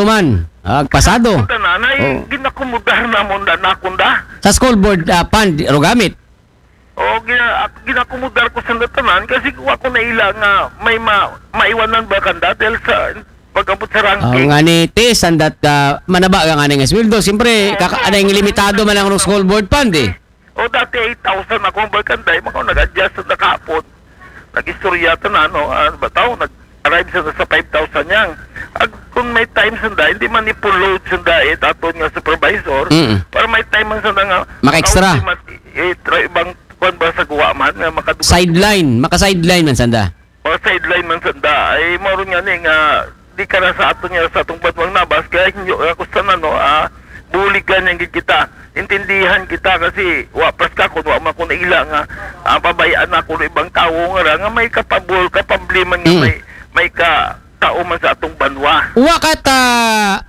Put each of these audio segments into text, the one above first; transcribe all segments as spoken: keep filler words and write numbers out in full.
man. Ah, pasado. Tanan ay Oh. ginakumudar namon da nakon da. Sa school board ah, fund, ro gamit. O gina, ginakumudar ko sa tanan kasi wa ko naila nga may ma, maiwanan ba kanda dahil sa pag-abot sa Ang ranking. Nga ni ti, sandat ka, manaba ka nga nga sweldo. Siyempre, kaka, anay limitado man ang school board fund eh. O dati eight thousand ako ang balkanday, makaw nag-adjust sa nakapon. Nag-istorya tanan, no? Ah, ba tao, nag-arrive sa sa five thousand yang. Ag, kung may time sanda, hindi man ipo-load sanda eh, taton nga supervisor, Mm. para may time man sanda nga, Maka-extra. Maka-, eh, tra-, ibang kwan ba sa guwa man, nga makadugang. Sideline, maka-sideline man sanda. Mga sideline man sanda, ay mao ron nga ni nga, di ka na sa aton nga sa atong banwang nabas, kaya inyo, ako sa ano, ah, buligan yang gid kita. Intindihan kita kasi wa pas ka kung wa man ko naila nga ang pabayaan ako ng ibang tao nga ra nga may kapabol, kapable man nga Mm. may, may ka tao man sa atong banwa. Wa ka ta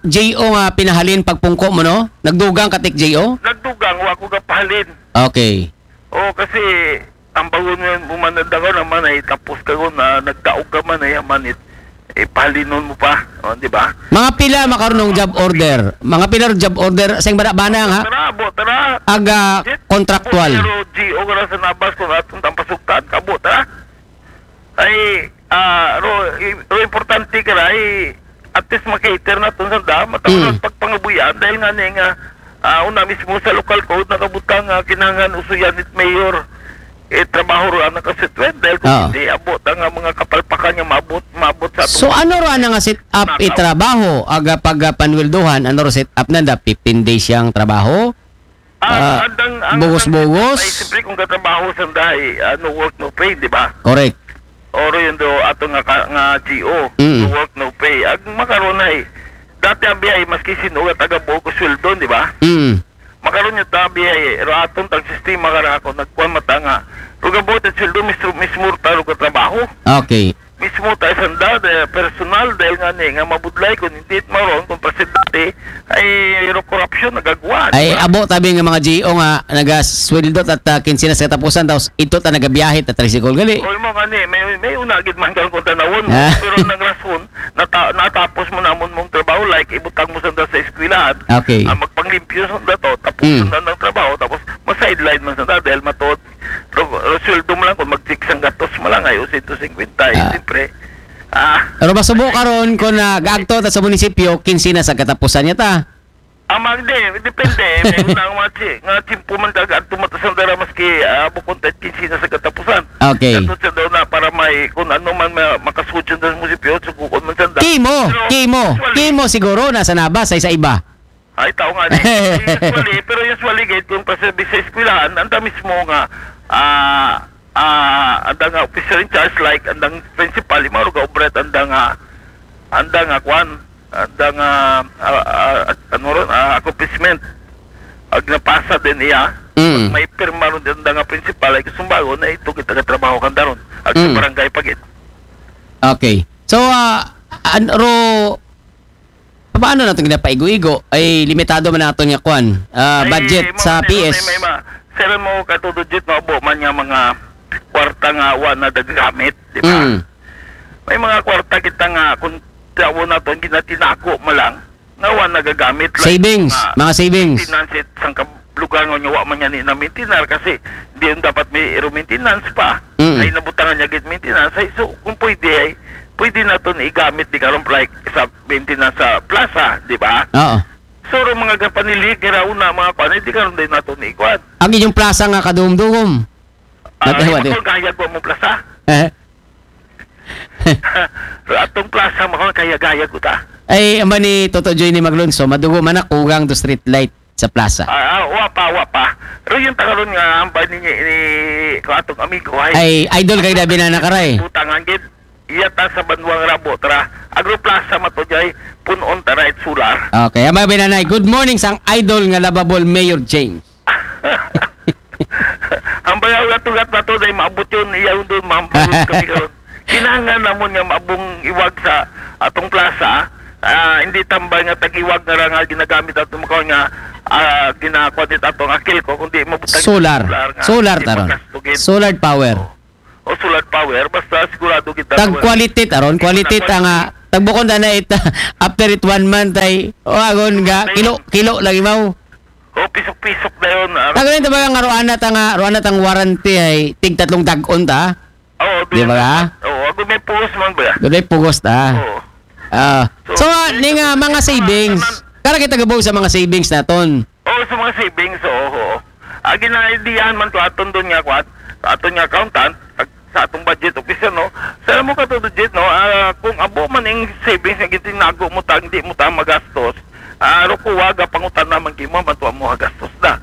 J O nga pinahalin pagpungko mo, no? Nagdugang ka tik J O? Nagdugang, wa ko gapahalin. Okay. O kasi ang bago mo man nagdagaw naman ay tapos ka na nagdaog ka man ay aman it ipahalinon mo pa, o, di ba? Mga pila makarunong job order? Mga pila job order sa bana-bana ha? Tara, abo, tara. Aga contractual. Pero G O ka na sa nabas kung atong tampasugtan, kabo, tara. Ay, ah, ro, i- ro importante ka na, ay, at least makater na itong sanda, matawag Mm. ang pagpangabuyan dahil nga ni nga, ah, una mismo sa local code, nakabutang nga kinahanglan usuyan it mayor, eh, trabaho ro ang nakasitwet dahil kung Oo. hindi, abot ang nga mga kapalpakan nga maabot, maabot sa So ano ro ana nga set up i trabaho aga pag panweldohan, ano ro set up nanda, fifteen days yang trabaho? Ah, andang ang bugos-bugos? Ay, siyempre kung katrabaho sa dahi, ah, no work, no pay, di ba? Correct. Oro yun do ato nga ka, nga G O, Mm. no work, no pay. Ag makaron ay dati ang biyahe maski sino nga taga buo ko sweldo, di ba? Mm. Makaron yung tabi ay ro aton tag sistema ka ra ako nagkuan mata nga. Ruga buo ta sweldo mismo mismo ta ruga trabaho. Okay. Mismo ta sanda de personal dahil nga ni nga mabudlay kung hindi maron kung presidente ay ro korupsyon nagagwa. Ay abo tabi nga mga G O nga nagasweldo at uh, kinsinas katapusan, tapos ito ta nagabiyahe ta tricycle gali. O mo nga ni may may una gid man kang kung tanawon mo, Ah. Pero nang rason nata, natapos mo namon mong trabaho, like ibutang mo sanda sa eskwelahan. Okay. Ah, magpanglimpyo sanda to, tapos Mm. sanda ng trabaho, tapos ma-sideline man sanda dahil matod. Ro, ro sweldo mo lang kung mag-six ang gatos mo lang ay o sento singkwenta, eh, Ah. siyempre. Ah, Pero masubo karon kung nag-agto ta sa munisipyo, kinsinas katapusan niya ta. Amang di, depende. May unang mga chi, nga chimpo man kag adto mata sa dara maski ah, bukon tet kinsinas sa katapusan. Okay. Adto sa daw na para may kung ano man ma, makasudyan sa munisipyo, sukukon man sa da. Kimo, Pero kimo, usually, kimo siguro nasa nabas ay sa iba. Ay, tao nga ni. Usually, pero usually gate kung paservice sa eskwelahan, anda mismo nga ah ah anda nga officer in charge like andang principal, imaro ga obret anda nga anda nga kwan, anda nga ah, ah, ano ron, ah, accomplishment. Ag napasa din iya. Mm. May pirma ron din anda nga principal ay gusto bago na ito kita ka trabaho kanda ron. Ag sa Mm. barangay pagit. Okay. So, ah, an, ro, paano natin ginapaigo-igo? Ay, limitado man natin nga kwan, ah, Ay, budget mo, sa may, P S. May, may, ma, sir mo katudod jit mo abo man nga mga kwarta nga wa na dagamit, di ba? Mm. May mga kwarta kita nga kung tawo naton ginatinago mo lang nga wa nagagamit, like, Savings, mga savings. Maintenance it sang kab- lugar nga wa man niya ni na maintenance kasi di yung dapat may iro maintenance pa. Mm. Ay nabutangan niya git maintenance. Ay, so kung pwede ay pwede naton igamit di karon like sa maintenance sa plaza, di ba? Oo. So ro mga gapanilig nga rauna mga kwan, di karon din naton ikuan. Ang inyong plaza nga kadugom-dugom. Ah, Dati, di dati. Kung kaya ko mong plaza. Eh, Pero atong plaza mo kaya gaya ko ta. Ay, amba ni Toto Joy ni Maglunso, madugo man na kugang do street light sa plaza. Ah, ah, wa pa, wa pa. Pero yung tagaron nga ang ba ni, ni ko atong amigo ay Ay, idol kay Dabi na nakaray. Butangan gid. Iya ta sa Banwang Rabo, tara. Agro Plaza mato jay punon ta right solar. Okay, amba binanay. Good morning sang idol nga lovable Mayor James. Ang bayaw nga tugat na to dahil maabot yun, iya yun doon, mahambayon kami karon. Kinahanglan namon nga maabong iwag sa atong plaza, ah, hindi tambay nga tag-iwag nga ra nga ginagamit ato makaw nga ah, ginakuha dit atong akil ko, kundi mabutang Solar. nga Solar di taron. Makastugid. Solar power. O solar power, basta sigurado kita Tag quality taron, quality ta nga Tagbukon ta na it, after it one month ay, o, agon nga, kilo, kilo lagi maw. O, pisok-pisok na yun. Ah, Tagalin ta ba nga, ruana ta nga, ruana tang warranty ay tig tatlong dag-on ta? Oo, Di ba doon ka? Oo, ako may pugos man ba? Doon ay pugos ta. Oo. Ah. So, So, ah, ning, ah, mga savings. Kara kita gabaw sa mga savings naton. Oo, sa mga savings, oo, oo. Ah, ginaidiyahan man to aton doon nga, kwat, sa aton nga accountant, ag-, sa atong budget officer, no? Sa mo ka to, budget, no? Ah, kung abo man ing savings nga gitinago mo ta, hindi mo ta magastos, ah, rukuwaga, pangutan naman kimo, matuwa mo gastos na.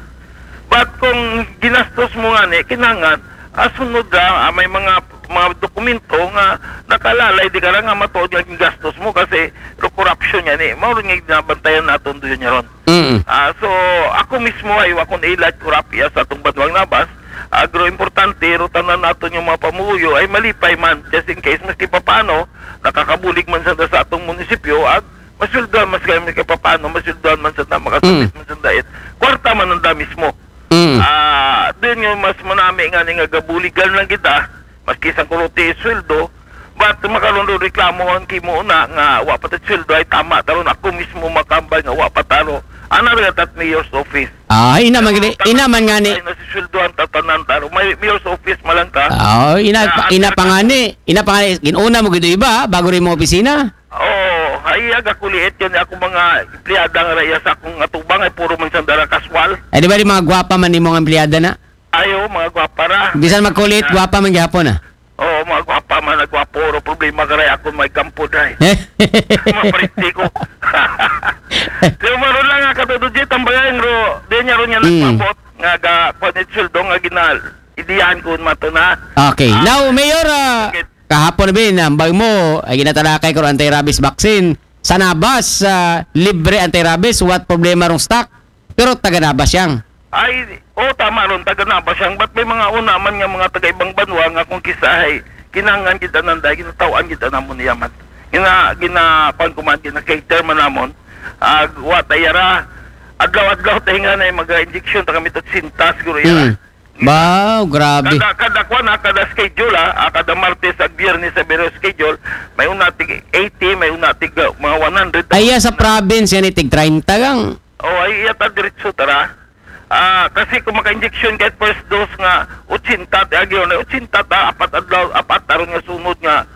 But kung ginastos mo nga ni, kinangan, ah, sunod ra, ah, may mga, mga dokumento nga nakalalay, di ka ra nga matuod nga gingastos mo kasi ro corruption yan eh. Mao rin nga ginabantayan naton doon niya ron. Mm. Ah, so, ako mismo ay wa akong ilat corrupt iya sa atong banwang nabas. Agro importante, ro tanan naton yung mga pamuyo ay malipay man. Just in case, maski papaano, nakakabulig man sa, sa atong munisipyo, ag masweldohan mas kami kay papaano, masweldohan man sa, makasabit Mm. man sa dait. Kwarta man ang da mismo. Mm. Ah, doon yung mas manami nga ni nga gabuligan lang kita, maski sa kuruti sweldo, but makaroon doon reklamo ang kimo na nga wa pa ta sweldo ay tama taron ako mismo makambay nga wa pa taro. Ana rin at mayor's office. Ah, ina man gani, ina man nga ni. Ay, nasisweldo ang tatanan taro. May mayor's office malang ka. Ah, ina, Ah, ina ang pa nga ni, ina pa nga ni, ginuna mo gito iba, bago rin mo opisina. Oo, ay aga kuliit yun ako mga empleyada nga raya sa akong atubang ay puro man sandara kaswal. Ay, di ba di mga gwapa man ni mga empleyada na? Ayo, mga gwapa ra. Bisan magkulit, Ah. gwapa man gihapon, ah. Oo, mga gwapa man, nagwapo, ro problema ka ray ako may kampo, day. Mapriti ko. Pero maro lang nga, Kato Dujit, ang bayan, ro, di niya ron niya Hmm. nagpabot, nga ga, kwanit sweldo, nga ginal, idiyahan ko mato na. Okay. Ah. Now, Mayor, ah, Sige. kahapon na bin, ambag mo, ay ginatalakay ko ro anti-rabies vaccine. Sa Nabas, ah, libre anti-rabies, what problema rong stock? Pero taga Nabas yang. Ay, o, tama ron, taga Nabas yang. But may mga una man nga mga taga ibang banwa nga kung kisa ay kinangan kita nanda, ginatawaan kita namon niya man. Gina, gina, kuwan ko man, gina-cater man namon. Ah, wa tayara, adlaw-adlaw tayo nga na yung mag-injection, ta kami to sintas, siguro yara. Hmm. Wow, grabe. Kada, kada kuwan, ah, kada schedule, ah, ah, kada Martes ag Biyernes sa biro schedule, may una tig eighty, may una tig, ah, mga one hundred. Ay, iya sa province, yan itig treinta gang. Oh, ay, iya ta diretso tara. Ah, kasi kung maka-injection kahit first dose nga, ochenta, ti agyo na, ochenta ta, apat adlaw, apat taron nga sunod nga,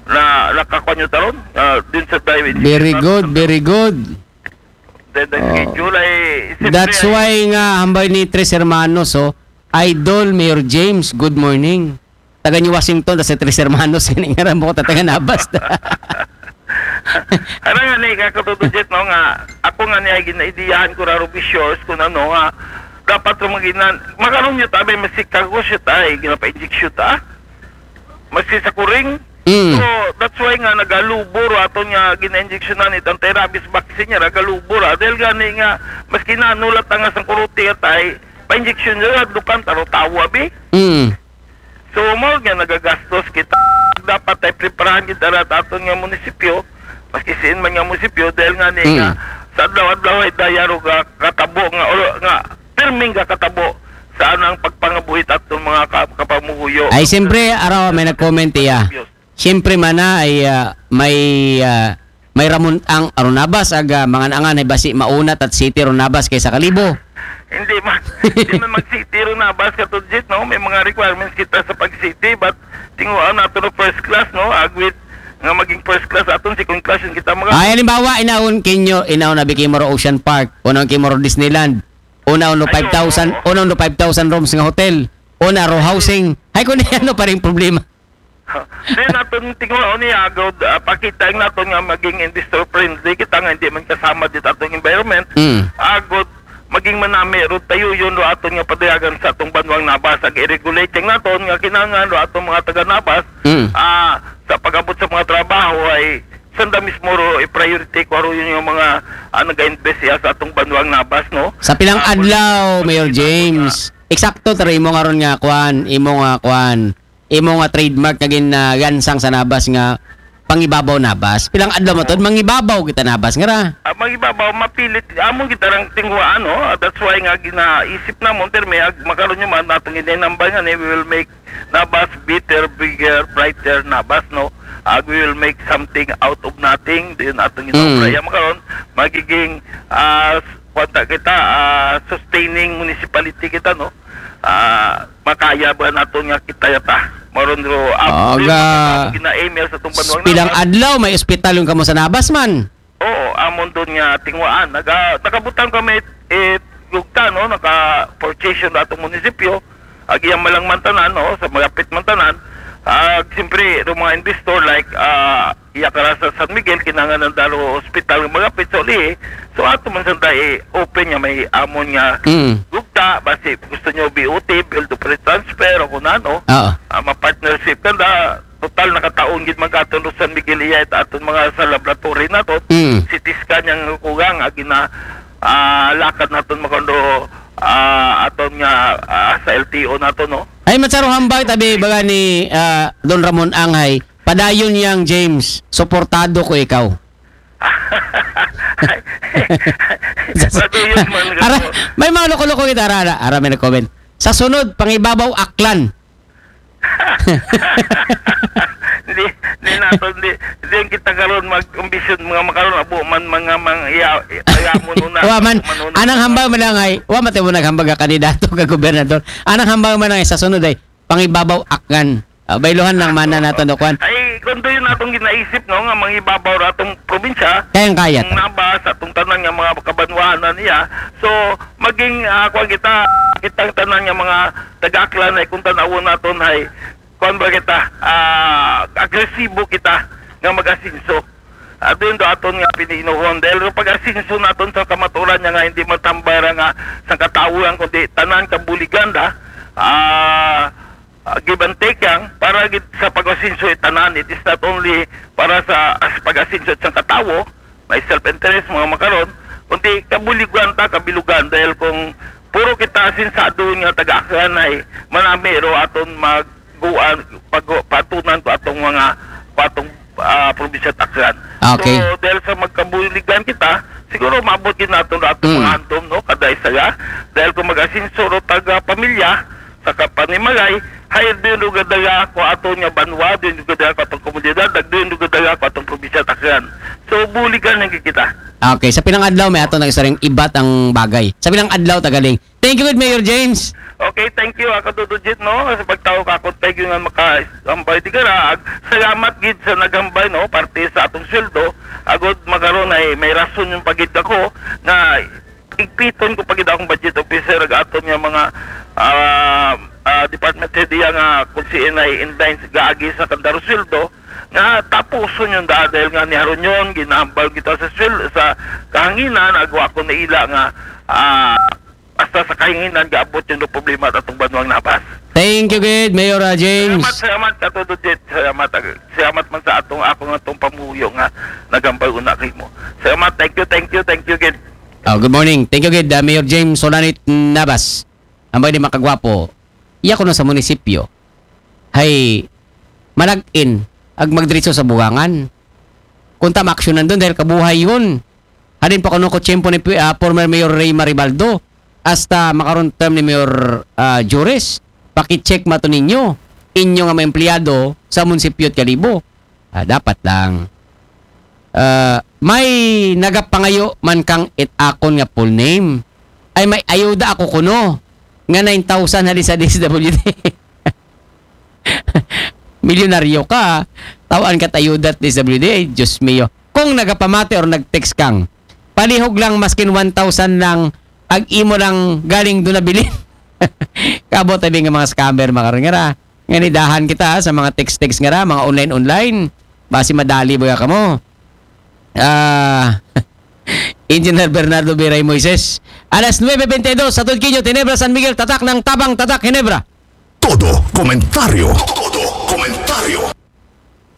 na, nakakuha nyo taron, ah, din sa dive injection Very na. good, very good. Then, the Oh. schedule ay, siyempre That's ay why nga, hambay ni Tres Hermanos, oh, Idol, Mayor James, good morning. Taga New Washington, tas si Tres Hermanos, yun yung aram mo, taga Nabas. Ano nga ni, kakatuto, Jet, no, nga, ako nga ni, ay ginaidiyahan ko raro, be sure, kung ano, nga, dapat ro maginan, makaroon nyo tabi, masikagos yun tayo, ginapa-injection ta, maski sa kuring. Mm. So, that's why nga, nagalubor, ato nga, gina-injectionan, itang anti-rabies vaccine niya, nagalubor, ah, dahil gani nga, maski nanulat na nga sa kuruti, at ay, pa-injection nyo, dukan, taro tawa, bi. Mm. So, mao nga nagagastos kita. Dapat ay preparahan kita ra ta aton nga munisipyo, maski siin man nga munisipyo, dahil nga ni nga Mm. sa adlaw-adlaw ay dayaro nga katabo nga, o, nga pirming nga katabo sa anang pagpangabuhi ta aton mga ka-, kapamuhuyo. Ay, siyempre, araw, may nag-comment iya. Siyempre man na ay, ah, may, ah, may ramon ang Arunabas, ag, ah, mangan-angan ay basi mauna tat city Arunabas kaysa Kalibo. Hindi man, hindi man mag-city Arunabas, Katudjit, no? May mga requirements kita sa pag-city, but tinguan nato no first class, no? Agwit nga maging first class aton, second class yung kita mga Ay, halimbawa, inaon kinyo, inaon na bikimo ro Ocean Park, unaon kimo ro Disneyland, unaon no Ay, five thousand, oo. unaon no five thousand rooms nga hotel, una ro housing. Ay, kung ano pa rin problema. Then, aton tinguhaon niya, agod, ah, pakita ang naton nga maging investor friendly. Kita nga hindi man kasama dito atong environment. Mm. Agod, maging manami, ro tayo yun, ro aton nga padayagan sa atong banwang Nabas. Ag i-regulate ang naton nga kinangan, ro atong mga taga Nabas, Mm. ah, sa pag-abot sa mga trabaho ay sanda mismo ro i-priority ko ro yun yung mga, ah, nag-invest siya sa atong banwang Nabas, no? Sa pilang Ah, adlaw, kung Mayor kita James, eksakto, taro imo nga ron nga, kwan, imo nga, kwan, imo nga trademark nga gin-, ah, gansang sa Nabas nga Pangibabaw Nabas. Pilang adlaw man to, mangibabaw kita Nabas nga ra. Ah, mangibabaw, mapilit. Amo kita rang tinguhaan, no? Ah, that's why nga ginaisip namon, pero may ag-, makaron nyo man, atong ginambay nga ni, we will make Nabas better, bigger, brighter Nabas, no? Ah, we will make something out of nothing. Din atong Mm. ginaobraya makaron, magiging, ah, s-, kwanta kita, ah, sustaining municipality kita, no? Ah, makaya ba naton nga kita yata? Maron ro, Ah, amo ga- ang gina-aim sa atong banwa nga Pilang Nabas. Adlaw, may ospital yung kamo sa Nabas man. Oo, amon doon nga tinguhaan. Naga, nakabutang kami, eh, gugta, no? Naka-purchase yun atong munisipyo. Ag iyang malang mantanan, no? Sa magapit mantanan. Ah, siyempre, yung mga investor, like, ah, iya kara sa San Miguel, kinangan ng daro hospital ng magapit sa uli. So, ato man sa tayo, eh, open nga may amon nga Mm. gugta, basi gusto nyo B O T, build, operate, transfer, o kung ano. Oo. Ah, ma-partnership ka na, total nakataon gid man katon San Miguel iya, it aton mga sa laboratory nato, Mm. C T scan yang kugang, agi na, ah, lakad naton makando, ah, aton nga, ah, sa L T O nato, no? Ay, matsaro hambal tabi, baga ni ah, Don Ramon Angay, padayon yang James, suportado ko ikaw. Padayon man ka Ara, po. May mga loko-loko kita, ara, ara, ara, may nag-comment. Sa sunod, Pangibabaw Aklan. Hindi, hindi nato, hindi, hindi ang kita karon mag-ambisyon, mga makaron, abo man, mga, mga, iya, iya mo nuna, Wa man, abo man nuna. Anang hambal man lang ay, wa man tayo naghambag ka kandidato ka gobernador. Anang hambal man lang ay sa sunod ay, Pangibabaw Aklan. Ah, bayluhan lang mana nato, no, kwan. Ay, kung doon atong ginaisip, no, nga mangibabaw ra atong probinsya, Kayang-kaya ang to. Nabas, atong tanan nga mga kabanwahan na niya. So, maging, ah, kwan kita, kitang tanan nga mga taga-Aklan ay kung tanawon naton ay, kwan ba kita, ah, agresibo kita nga mag-asinso. At doon do aton nga piniinuhon. Dahil yung pag-asinso naton sa kamaturan niya nga hindi matambay ra nga sa katawuran, kundi tanan kabuligan da, ah, ah, give and take yang para gid sa pag-asinso itanan. It is not only para sa as pag-asinso sa katawo, may self-interest, mga makaron, kundi kabuligan ta, kabilugan, dahil kung puro kita sinsado nga taga-Aklan ay manami ro aton magguan, pag, patunan ko atong mga, ko atong, ah, probinsya at Aklan. Okay. So, dahil sa magkabuligan kita, siguro maabot gid nato na atong Mm. mga handom, no? Kada isa ya. Dahil kung mag-asinso ro taga pamilya, sa kapanimagay, hay din lugadala ko ato nga banwa, din lugadala ko atong komunidad, nag din lugadala ko atong probinsya at Aklan. So, buligan lang kita. Okay, sa pinang adlaw may ato nag-isaring ibat ang bagay. Sa pinang adlaw, tagaling. Thank you, good Mayor James. Okay, thank you, ako Dudujit, no? Sa pagtawo ka ako, thank you nga maka-, hambay di karaag. Salamat gid sa naghambay, no? Parte sa atong sweldo. Agod makaron ay may rason yung pagid ako nga igpiton ko pagid akong budget officer ag aton nga mga, ah, ah, department head iya nga kung si N I in line sa gaagi sa kandaro sweldo nga tapuson yung da-, dahil nga ni Harunyon, ginahambal kita sa swel-, sa kahanginan, agwa ako na ila nga, ah, basta sa kahanginan, gaabot yung problema at atong banwang Nabas. Thank you, good Mayor ah, James. Salamat, salamat, Katudo Jet. Salamat, ag-, salamat man sa atong, ako nga atong pamuyo nga nagambal una kay mo. Salamat, thank you, thank you, thank you, Gid. Oh, good morning. Thank you, good ah, Mayor James Solanit Nabas. Ang bagay di makagwapo. Iya ko na sa munisipyo. Hay, malagin, ag magdiretso sa bugangan. Kung ta maaksyonan doon dahil kabuhay yun. Hadin pa kuno ko tiyempo ni ah, former Mayor Ray Maribaldo, hasta makaron term ni Mayor ah, Juris, pakicheck mato ninyo, inyo nga mga empleyado sa munisipyo at Kalibo. Ah, dapat lang. Ah, may nagapangayo man kang it akon nga full name. Ay may ayuda ako kuno nga nine thousand hali sa D S W D. Milyonaryo ka, tawaan ka ayuda at D S W D, ay, Diyos mio. Kung nagapamati or nag-text kang, palihog lang maskin one thousand lang, ag imo lang galing doon nabilin. Kabot tabi nga mga scammer, makaroon nga ra. Nga nidahan kita ha, sa mga text-text nga ra, mga online-online. Basi madali ba ka mo? Ah, Engineer Bernardo Biray Moises. Alas nuebe bente dos, sa Tudquillo, Ginebra, San Miguel, tatak ng tabang, tatak, Ginebra. Todo komentaryo. Todo komentaryo.